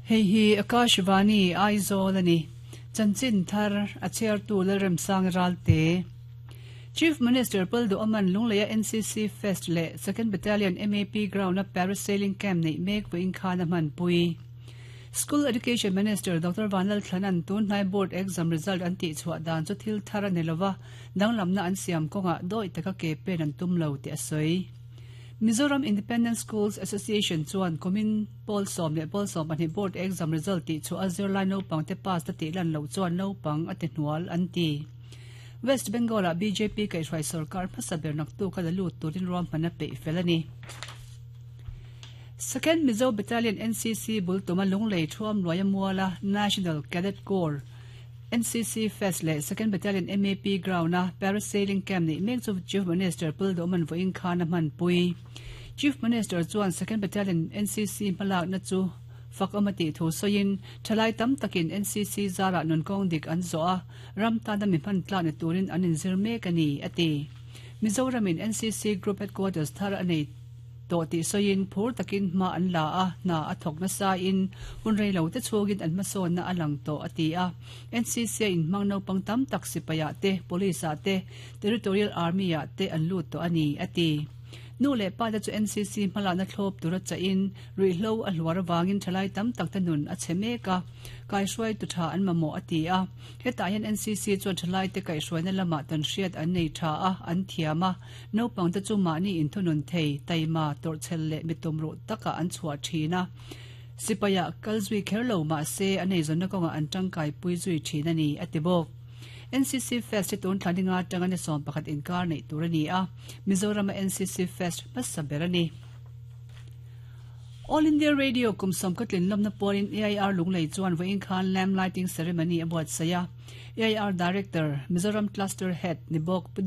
Hei hi Akashvani Aizawl a ni. Chanchin thar a chhiartu Lalremsang Ralte. Chief Minister Paldu Aman Lungleia NCC Fest leh Second Battalion MAP Ground-a Parasailing Camp neih mek vawiin khan a hmanpui. School Education Minister Doctor Vanlalthlana'n tun hnai Board exam result an tihchhuah dan chu thil thar a ni lova, danglamna an siam kawngah dawi taka ke pen an tum lo tih a sawi. Mizoram Independent Schools Association chuan kumin pawl 10 leh pawl 12 Board exam result tihchhuah a zirlai naupangte pass ta tih lan loh chuan naupang a ti hnual an ti. West Bengal-ah bjp kaihhruai sorkar hmasa ber naktuk a la lut turin ruahman a peih fel a ni. Second Mizo Battalion NCC bul tuma Lunglei Thuam Luaia Muala National Cadet Corps, NCC, Fest leh Second Battalion MAP Ground-a Parasailing Camp neih mek chu Chief Minister Pul Duhman vawiin khan a hmanpui. Chief Minister chuan Second Battalion NCC hmalakna chu fak awm a tih thu sawiin, thalai tam takin NCC zarah nunkawng dik an zawh a, ram tana mi hman tlak ni turin an inzir mek a ni, a ti. Mizoramin NCC Group Headquarters thar a nei tawh tih sawiin phur takin hma an la a, hna a thawk nasain hun rei lo te chhungin an hmasawnna a lang tawh a ti a. NCC a inhmang naupang tam tak sipaiah te, Police ah te, Territorial Army ah te an lut tawh a ni, a ti. Nu leh pa te chu NCC hmalakna thlawp tura chahin ruihhlo a hluar avangin thalai tam tak te nun a chhe mek a, kaihruaitu tha an mamawh a ti a. Hetah hian NCC chuan thalaite kaihhruaina lamah tawnhriat an nei tha a, an thiam a. Naupangte chu mahni inthunun thei, taima, tawrhchhel leh mi tumruh takah an chhuah thin a. Sipaiah kal zui kher lo mah se an eizawnna kawngah an tangkaipui zui thin a ni, a ti bawk. NCC Fest hi tun thla ninga atanga ni 11 inkar neih tur a ni a, Mizorama NCC Fest hmasa ber a ni. All India Radio kum sawmka tlinlawmna pawlin AIR Lunglei chuan vawiin khan Lamp Lighting Ceremony a buatsaih a. AIR Director, Mizoram Cluster Head ni bawk Pu.